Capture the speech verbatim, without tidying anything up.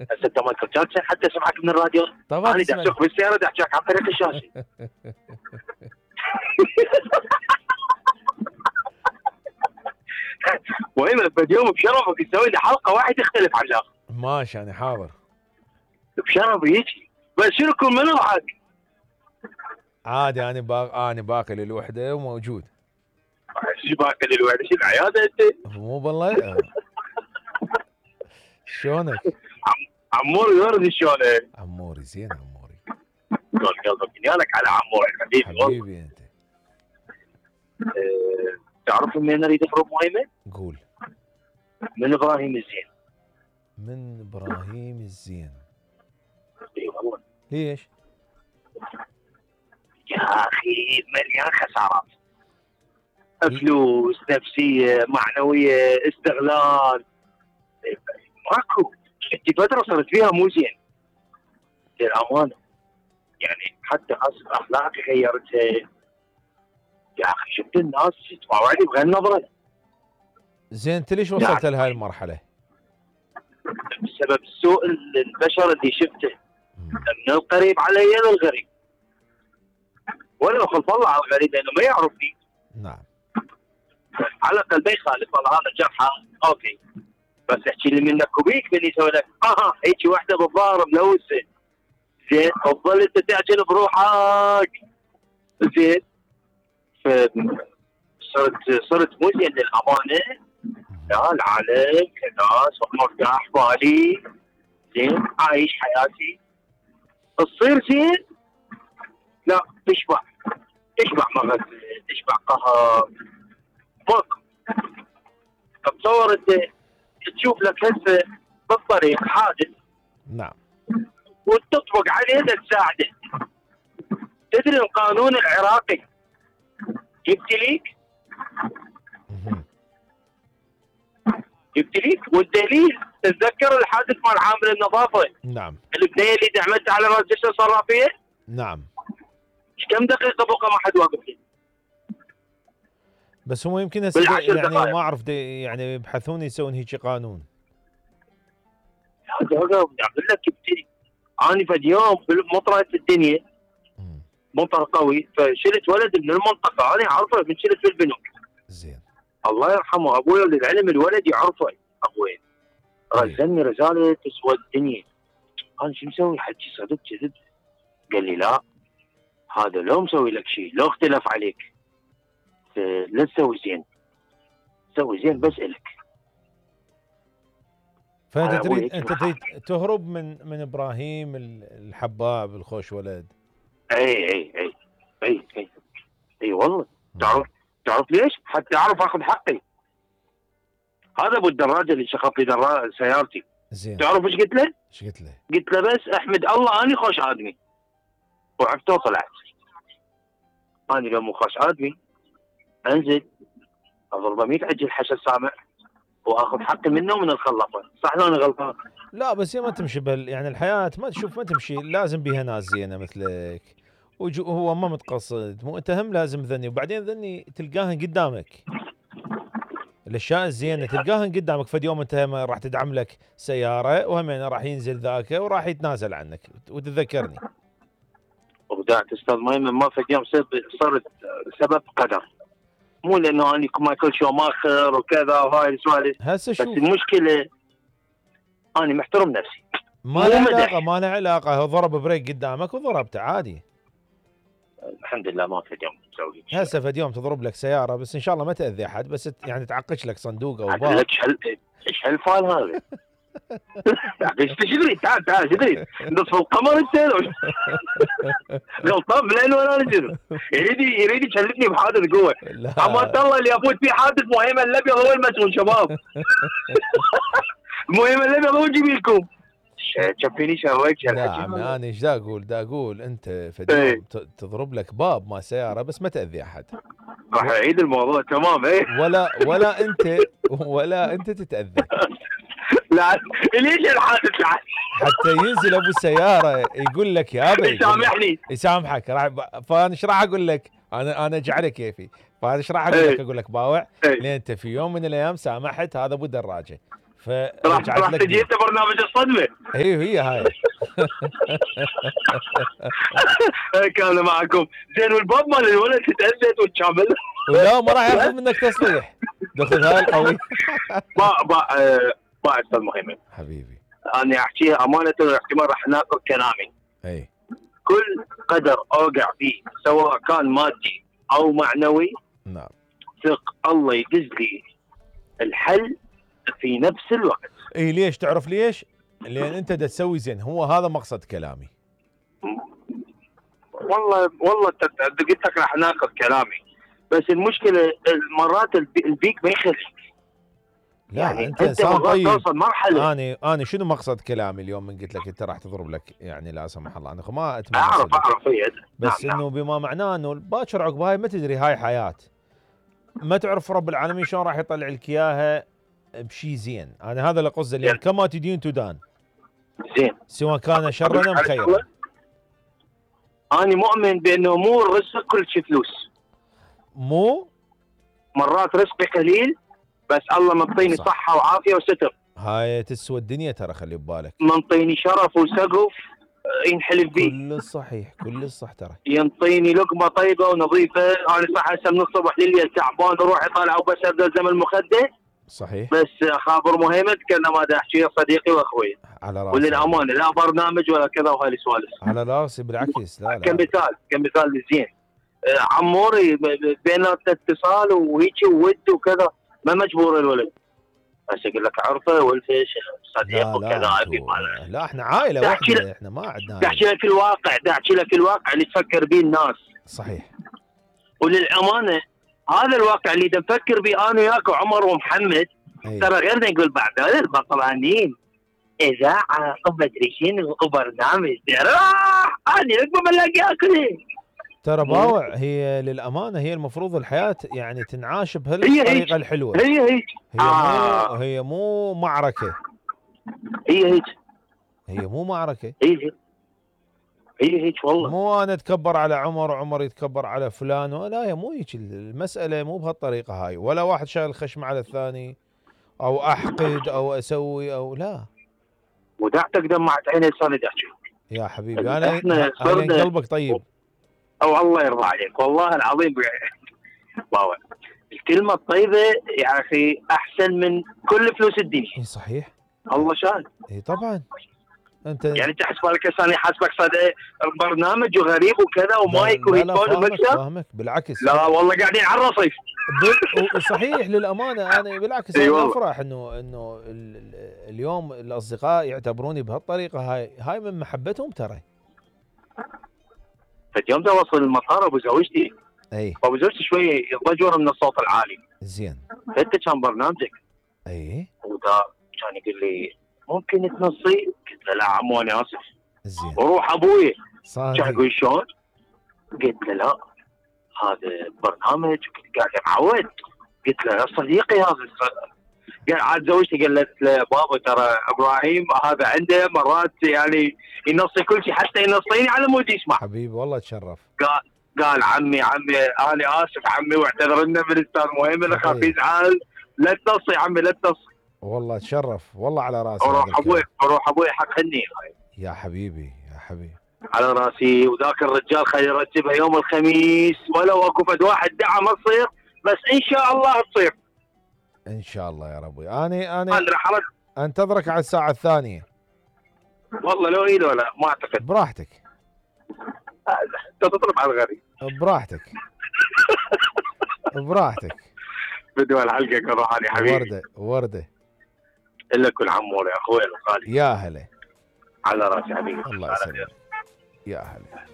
هسه انت مايكل جاكسون حتى سمعك من الراديو. طبعا انا دا اسوق بالسياره دا احكيك عن طريق الشاشه. وين بيوم بشرفك تسوي لي حلقه واحد يختلف عن الاخر. ماشي يعني حاضر بشرف يجي. بس شنو يكون من معك؟ عادي انا باق... انا باكل الوحده وموجود. شو باكل الوحده؟ شو العياده انت؟ مو بالله. شلونك؟ عموري ورد شلونك؟ عموري زين عموري. قول قلبك نيالك على عموري حبيبي. حبيبي انت. أه... تعرف من اريد اخرب مهمه؟ قول. من ابراهيم الزين. من ابراهيم الزين. اي والله. ليش؟ يا اخي مليان خسارات. فلوس، نفسيه، معنويه، استغلال. ماكو. انت فتره صرت فيها مو زين. للامانه. يعني حتى اخلاقي غيرتها. يا اخي شفت الناس تطاوعني بغير نظره. زين انت ليش وصلت يعني لهاي المرحله؟ بسبب سوء البشر اللي شفته. من القريب علي للغريب. ولا خلف الله على الغريب لانه ما يعرفني. نعم. على الاقل ما يخالف والله هذا جرحه اوكي. بس احكي لي منك وبيك بني يسوي لك اها هيك وحده بالظاهر ملوثه. زين تفضل انت تعجل بروحك. زين صرت صرت مو زين للامانه. لا العالم كناس مرتاح بالي. زين عايش حياتي. تصير زين لا تشبع تشبع مغز تشبع قهر. ماكو. تصور انت تشوف لك هسه بالطريق حادث. نعم. وتطبق عليه تساعده. تدري القانون العراقي يبتليك يبتليك والدليل تتذكر الحادث مال عامل النظافه. نعم. البنيه اللي دعمتها على راس جسر صرافيه. نعم. كم دقيقه بقى ما حد واقف لي. بس هم يمكن هسه يعني ما اعرف يعني يبحثون يسوون هيك قانون. هذا اقول لك يبتلي. انا فد يوم بمطره الدنيا مطر قوي فشلت ولد من المنطقه انا اعرفه من شلت في البنوك. زين. الله يرحمه ابوي للعلم الولد يعرفه ابوي. رزلني رساله تسوى الدنيا. انا شو مسوي حكي صدق كذب؟ قال لي لا هذا لو مسوي لك شيء لو اختلف عليك لا تسوي زين. سوي زين بس الك. فانت تريد انت تريد تهرب من من ابراهيم الحباب الخوش ولد. اي اي اي اي اي اي والله. تعرف تعرف ليش؟ حتى اعرف اخذ حقي. هذا ابو الدراجه اللي شخط لي دراجه سيارتي. زين. تعرف ايش قلت له؟ ايش قلت له؟ قلت له بس احمد الله اني خوش ادمي. وعفت وطلعت. اني لو مو خوش ادمي انزل اضربه مية عجل حشر سامع واخذ حقي منه ومن الخلفه. صح لو انا غلطان؟ لا بس ما تمشي بال يعني الحياه ما تشوف ما تمشي لازم بيها ناس زينه مثلك. وهو ما متقصد مو انت هم لازم ذني وبعدين ذني تلقاهن قدامك. الاشياء الزينه تلقاهن قدامك. فد يوم انت راح تدعم لك سياره وهم راح ينزل ذاك وراح يتنازل عنك وتتذكرني. وبدأت استاذ مهم ما فد يوم صرت سبب قدر. مو لانه اني مايكل شو ماخر وكذا وهاي السوالف. هسه شوف بس المشكله اني محترم نفسي. ما له علاقه ما له علاقه. هو ضرب بريك قدامك وضربته عادي. الحمد لله ما فد يوم مسوي. هسه فد يوم تضرب لك سياره بس ان شاء الله ما تاذي احد بس يعني تعقش لك صندوق او باب. لك ايش هالفال هذا؟ ايش تدري؟ تعال تعال تدري نصف القمر انت غلطان من ولا انا يريد يريد يشلتني بحادث قوه. اما الله اللي افوت فيه حادث مهمه الابيض هو المسؤول شباب. المهمه الابيض هو نجيب لكم. شفيني شويك لا عمي انا ايش دا اقول دا اقول انت فديوم تضرب لك باب ما سياره بس ما تاذي احد. راح اعيد الموضوع تمام. ايه ولا ولا انت ولا انت تتاذى. لا ليش الحادث العادي؟ حتى ينزل ابو السياره يقول لك يا ابي يسامحني يسامحك. راح فانا ايش راح اقول لك؟ انا انا اجعله كيفي. فانا ايش راح اقول لك؟ اقول لك باوع لين انت في يوم من الايام سامحت هذا ابو دراجه راح راح تجي انت برنامج الصدمه. ايوه هي هاي. كان معكم زين، والباب مال الولد تتأذت وتشامل. ولا ما راح ياخذ منك تصريح، دخل هاي القوي. ما ما ما استاذ مهيمن حبيبي، انا احكيها امانه، احتمال راح ناقض كلامي. اي كل قدر اوقع فيه سواء كان مادي او معنوي، نعم، ثق الله يدز لي الحل في نفس الوقت. اي ليش؟ تعرف ليش؟ لان انت دا تسوي زين، هو هذا مقصد كلامي. والله والله قلت لك راح ناخذ كلامي، بس المشكله مرات البيك ما يخليك. لا يعني انت انسان طيب. توصل مرحله. انا انا شنو مقصد كلامي اليوم من قلت لك انت راح تضرب لك، يعني لا سمح الله، انا ما اتمنى اعرف اعرف هي بس نعم انه نعم. بما معناه انه باكر عقب هاي ما تدري، هاي حياه، ما تعرف رب العالمين شلون راح يطلع لك اياها بشيء زين. انا هذا اللي قصدي، لان كما تدين تدان. زين، سواء كان شرا ام خيرا. انا مؤمن بانه مو الرزق كل شيء فلوس. مو مرات رزقي قليل بس الله منطيني صحه وعافيه وستر. هاي تسوى الدنيا ترى، خلي ببالك. منطيني شرف وسقف ينحلف بيه. كل الصحيح، كل الصح ترى. ينطيني لقمه طيبه ونظيفه، انا صح هسه من الصبح لليل تعبان اروح اطالع وبس الزم المخده. صحيح. بس خابر مهيمن كان ما دا احكي صديقي واخوي. على راسي. وللامانه لا برنامج ولا كذا وهاي السوالف. على راسي بالعكس. لا لا. كمثال كمثال زين. عموري بيننا اتصال وهيك وود وكذا، ما مجبور الولد. بس اقول لك عرفه والفيش صديق وكذا. لا, لا احنا عائله واحده، احنا ما عندنا. دا احكي لك الواقع، دا احكي لك الواقع اللي تفكر به الناس. صحيح. وللامانه هذا الواقع اللي نفكر به انا وياك وعمر ومحمد. أيه. ترى غير نقول بعد هذا البطلانين اذاعه ومدري شنو وبرنامج راح انا ما بلاقي اكل. ترى باوع، هي للامانه هي المفروض الحياه يعني تنعاش بهالطريقه الحلوه. هي هيك هي آه. مو هي مو معركه. هي هيك هي مو معركه. هي هيك هي هيك والله. مو انا اتكبر على عمر وعمر يتكبر على فلان، لا هي مو هيك المساله، مو بهالطريقه هاي، ولا واحد شايل خشم على الثاني او احقد او اسوي او لا. ودعتك دمعت عيني لساني احكي يا حبيبي. انا انا قلبك طيب. او الله يرضى عليك والله العظيم. باوع الكلمه الطيبه يا اخي احسن من كل فلوس الدنيا. اي صحيح. الله شاهد. اي طبعا. انت يعني انت حسب لك هسه انا حاسبك صدق برنامج وغريب وكذا ومايك وهيدفون ومكسر. فاهمك بالعكس. لا والله قاعدين على الرصيف. صحيح للامانه انا بالعكس انا افرح انه انه اليوم الاصدقاء يعتبروني بهالطريقه هاي، هاي من محبتهم ترى. فاليوم ده وصل المطار ابو زوجتي. اي. ابو زوجتي شوي ضجر من الصوت العالي. زين. انت كان برنامجك. اي. ودا كان يقول لي ممكن تنصي؟ قلت له لا عمو انا اسف. زين. وروح ابوي. صحيح. كان يقول شلون؟ قلت له لا هذا برنامج، كنت قاعد معود. قلت له يا صديقي هذا قال عاد زوجتي قالت له بابا ترى ابراهيم هذا عنده مرات يعني ينصي كل شيء حتى ينصيني على مود يسمع. حبيبي والله تشرف. قال قال عمي عمي انا اسف عمي واعتذر لنا من الاستاذ مهيمن اخاف يزعل، لا تنصي عمي لا تنصي. والله تشرف والله على راسي. اروح ابوي اروح ابوي حق هني. يا حبيبي يا حبيبي على راسي. وذاك الرجال خلي يرتبها يوم الخميس، ولو اكو فد واحد دعا ما تصير بس ان شاء الله تصير. ان شاء الله يا ربي. انا انا انا راح انتظرك على الساعه الثانيه. والله لو اي لو لا ما اعتقد. براحتك. انت تطلب على الغريب. براحتك. براحتك. بدو الحلقه كروحاني حبيبي. ورده ورده. الا كل عمور يا اخوي الغالي. يا هلا. على راسي حبيبي. الله يسلمك. يا هلا.